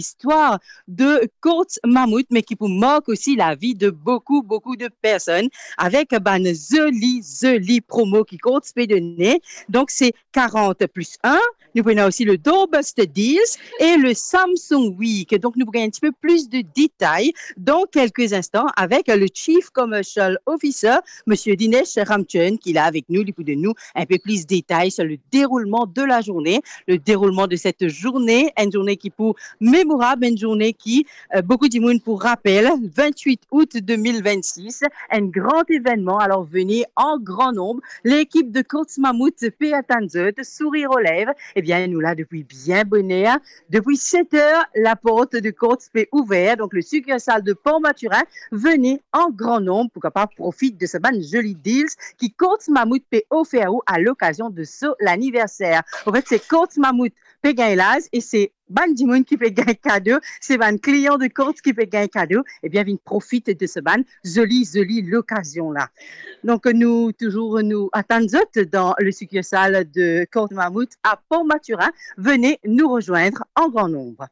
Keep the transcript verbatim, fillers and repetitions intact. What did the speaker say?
listwar de Courts Mammouth, me ki pou mark osi lavi de boukou, boukou de personn avek bann zoli, zoli promo ki Courts pe done. Donk, se quarante plus un. Nou pou ena osi le Doorbuster Deals e le Samsung Week. Donk, nou pou gagn un petit peu plus de détails dans quelques instants avec le Chief Commercial Officer, Monsieur Dinesh Ramchand, qui est là avec nous. Li pou donn nou un peu plus de détails sur le déroulement de la journée, le déroulement de cette journée, une journée qui pou mémorable, une journée qui, euh, beaucoup de monde pou rapel, vingt-huit août deux mille vingt-six, un grand événement. Alors, venez en grand nombre. L'équipe de Courts Mammouth pe atann zot, sourire aux lèvres. Eh bien, nou la depuis bien bonheur. Depuis sept heures, la porte de Courts pe ouver. Donc, le succursale de Port-Mathurin, venez en grand nombre pou kapav profit de sa bann zoli deals ki Courts Mammouth pe ofer ou à l'occasion de son anniversaire. En fait, se Courts Mammouth pe gagn laz e se bann dimoun ki pe gagn kado, se bann klian de Courts ki pe gagn kado, eh bien, vinn profit de sa bann zoli, zoli lokazion la. Donc, nou touzour, nou atann zot dans le succursale de Courts Mammouth à Port-Mathurin. Venez nous rejoindre en grand nombre.